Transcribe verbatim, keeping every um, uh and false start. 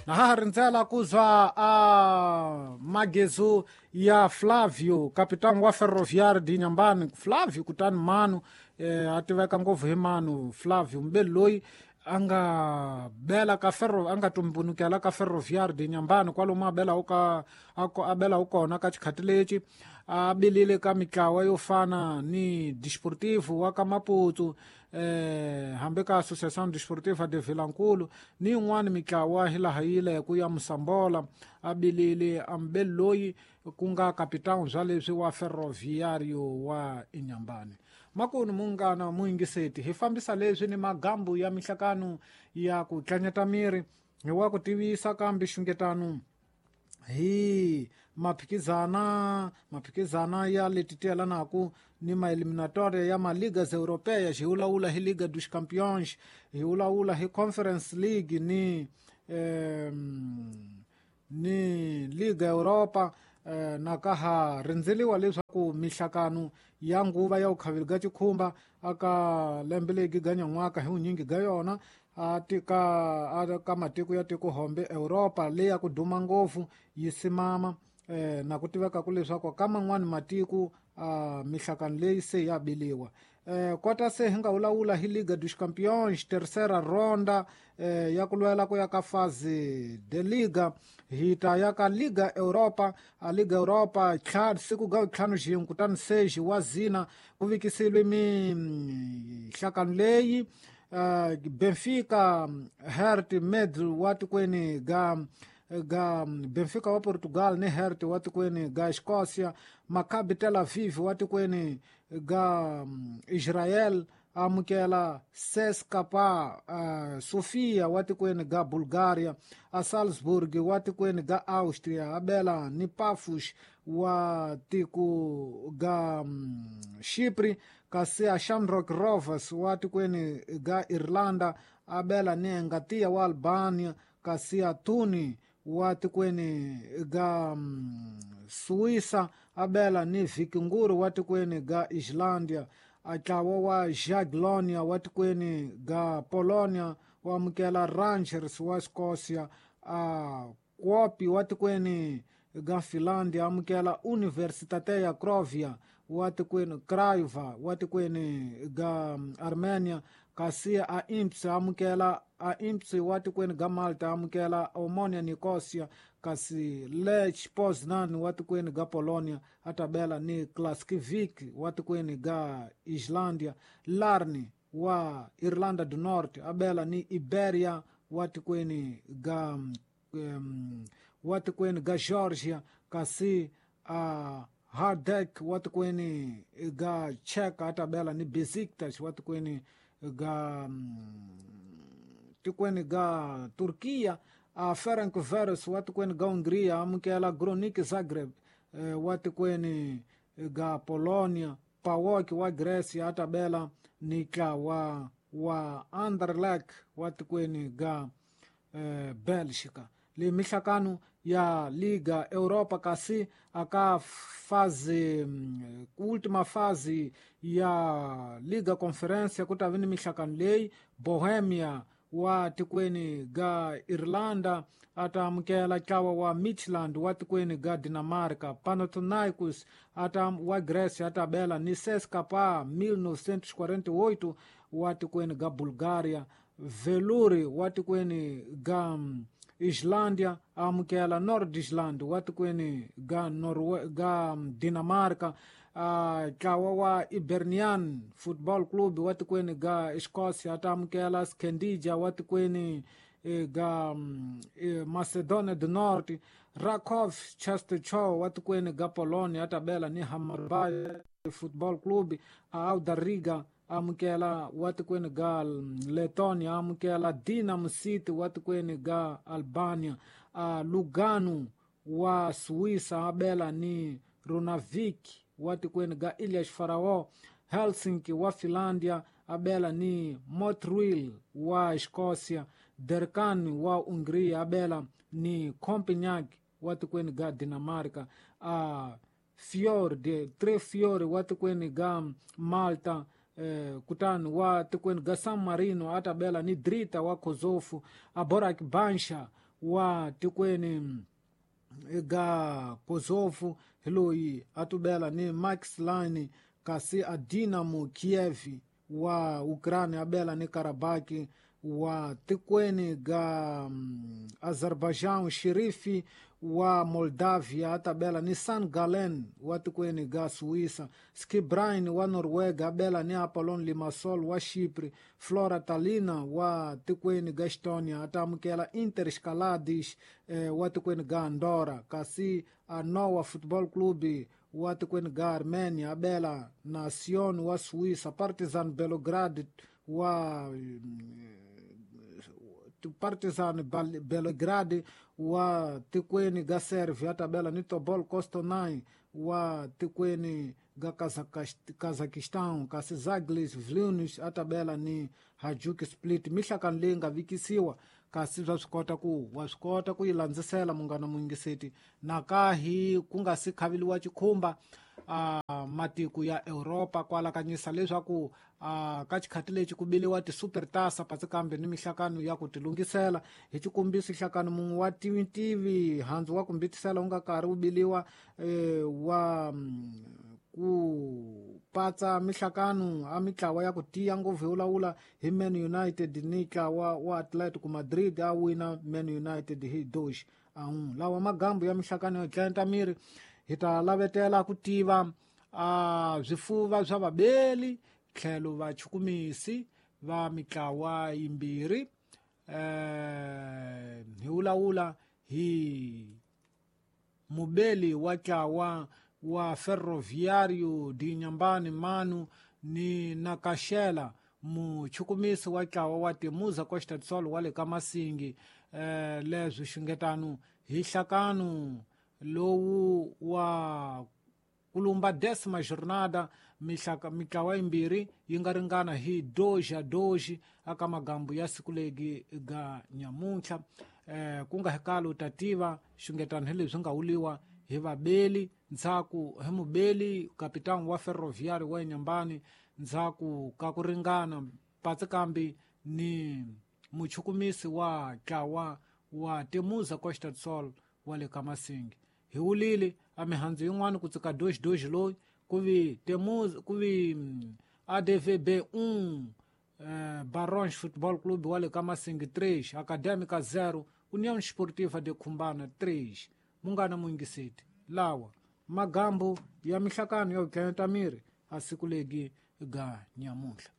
Na ha rindzela ku zwa a magezu ya Flavio, capitão wa Ferroviário de Inhambane. Flavio kutani manu eh, a tiveka ngopfu hi manu Flavio mbeli loyi a nga bela ka ferro a nga tumbunukela ka Ferroviário de Inhambane kwalomu a bela ka a bela kona ka xikhati lexi a bilile ka mitlawa yo fana ni Desportivo wa ka Maputo eh hambi ka Associação Desportiva de Vilankulu ni yin'wana mitlawa hilaha yi ku ya Mosambola a bilile ambeli loyi ku nga capitão bya leswi wa Ferroviário wa Inhambane. Makunu munghana muyingiseti hi fambisa leswi ni magambu ya mihlakano ya ku tlanyata miri hi wa ku tivisa kambe xungetano hi maphikizana maphikizana ya leti tiyelanaku ni maeliminatoria ya maligas europeias hi vulavula hi Liga dos Campeões hi vulavula hi Conference League ni eh, ni Liga Europa eh, na ka ha rindzeliwa leswaku mihlakano ya nguva ya vukhaveli ga xikhumba aka lembe legi ga nyan'waka hi vunyingi ga yona a tika a ka matiko ya tiko hombe Europa leyi ya ku duma ngopfu yi simama eh, na ku tiveka ku leswaku ka man'wani matiko a mihlakano leyi se ya biliwa eh, kota se hi nga vulavula hi Liga dos Campeões terceira ronda eh, ya ku lwela ku ya ka fase de Liga hi ta ya ka Liga Europa a Liga Europa tlha siku ga ntlhanu xin'we kutani seji wa zina ku vikisile mihlakano leyi uh, Benfica Hert Med wa tikweni ga ga Benfica wa Portugal ni Hert wa tikweni ga Escócia, Maccabi Tel Aviv wa tikweni ga Israel amukela C S K A uh, Sofia wa tikweni ga Bulgaria, a Salzburg wa tikweni ga Austria abela ni Pafos wa tiko ga um, Chipre, kasi a Shamrock Rovers wa tikweni ga Irlanda abela ni Engatia wa Albania, kasi a Tuni wa tikweni ga um, Suíça abela ni Vikingur wa tikweni ga Islândia, atlawa wa Jagiellonia wa tikweni ga Polonia wa amukela Rangers wa Escócia, a Kuopi wa tikweni ga Finlândia amukela Universitatea Craiova wa tikweni Craiova wa tikweni ga Armenia, kasi a Imps amukela a Imps wa tikweni ga Malta amukela Omonia Nicosia, kasi Lech Poznan wa tikweni ga Polonia atabela ni Klaskivik wa tikweni ga Islândia, Larni wa Irlanda do Norte abela ni Iberia wa tikweni ga um, wa tikweni ga Georgia, kasi a uh, Hardek wa tikweni ga Czech atabela ni Besiktas wa tikweni ga um, tikweni ga Turquia, a Ferencváros wa tikweni ga Hungria amukela Gronik Zagreb eh, wa tikweni ga Polonia, P A O K wa Grecia atabela ni tlawa wa Anderlecht wa tikweni ga eh, Belgica. Le mihlakano ya Liga Europa kasi aka fase última fase ya Liga Conferência ku ta vi ni mihlakano leyi Bohemia wa tikweni ga Irlanda ata amukela tlawa wa Midtjylland wa tikweni ga Dinamarca, Panathinaikos ata wa Grecia atabela ni C S K A mil novecentos e quarenta e oito wa tikweni ga Bulgaria, Veluri wa tikweni ga Islândia amukela Nordisland wa tikweni ga Norwe ga Dinamarca, uh, tlawa wa Hibernian Football Club wa tikweni ga Escócia ata amukela Skendija wa tikweni eh, ga eh, Macedonia do Norte, Rakov Częstochowa wa tikweni ga Polonia atabela ni Hammarby Football Club, Auda Riga amukela wa tikweni ga Letonia amukela Dinamo City wa tikweni ga Albania, uh, Lugano wa Suíça abela ni Runavik wa tikweni ga Ilhas Faraó, Helsinki wa Finlândia abela ni Montreal wa Escócia, Derkan wa Hungria abela ni Copenhague wa tikweni ga Dinamarca, uh, Fjord Tre Fiori wa tikweni ga Malta, eh, kutani wa tikweni ga San Marino atabela ni Drita wa Kosovo, a Borac Bansha wa tikweni ga Kosovo hi loyi a tubela ni Max Line, kasi a Dinamo Kiev wa Ukraine abela ni Karabaki wa tikweni ga um, Azerbaijan. Sherifi wa Moldavia atabela ni San Galen wa tikweni ga Suíça. Skibrain wa Noruega abela ni Apollon Limassol wa Chipre. Flora Talina wa tikweni ga Estonia atamukela Inter Escalades eh, wa tikweni ga Andorra, kasi Anoa Football Club wa tikweni ga Armenia abela Nacion wa Suíça. Partizan Belgrade wa Partizan Belgrade wa tikweni ga Servia atabela ni Tobol Kostanay wa tikweni ga Kazakhstan, kasi Zaglis Vilnius atabela ni Hajduk Split. Mihlakano leyi nga vikisiwa kasi swa swi kota ku wa swi kota ku yi landzisela munghana muyingiseti nakahi ku nga si khaviliwa chikhumba uh, matiko ya Europa kwalakanyisa leswaku uh, ka xikhati lexi ku biliwa ti-supertasa patsi kambe ni mihlakano ya ku tilungisela. Hi xikombiso nhlakano mun'we wa tivi handzu wa ku mbitisela wu nga karhi wu biliwa eh, wa ku patsa mihlakano a mitlawa ya ku tiya ngopfu hi wulawula hi Man United ni ntlawa wa Atletico Madrid a wina Man United hi doxi a lawa magambu ya mihlakano yo dlenta miri. Hi ta lavetela ku tiva a swifuva swa vabeli tlhelo vachukumisi va mitlawa yimbirhi eh hi wulawula hi mubeli wa ntlawa wa Ferroviário de Inhambane Manu ni Nakaxela muchukumisi wa ntlawa wa Temuza Costa do Sol wa le ka Masingi eh leswi xungetano hi nhlakano lowu wa kulumba décima jornada mihlaka mitlawa yimbirhi yi nga ringana hi doji a doji aka magambu ya siku legi ga nyamuntlha eh ku nga hekalo tativa xungetano hi leswi nga wuliwa hi vabeli ndzhaku hi mubeli kapitani wa Ferroviário wa Inhambane ndzhaku ka ku ringana patsi kambi ni muchukumisi wa ntlawa wa Temuza Costa do Sol wa le ka Masingi. Hi wulile a mihandzu yin'wana ku tsika doji doji loyi ku vi Temuza ku vi A D V B um eh, Barões Futebol Clube wa le ka Masingi três, Académica zero, União Esportiva de Cumbana três. Munghana muyingiseti lawa magambu ya mihlakano yo dlenta miri a siku legi ga nyamuntlha.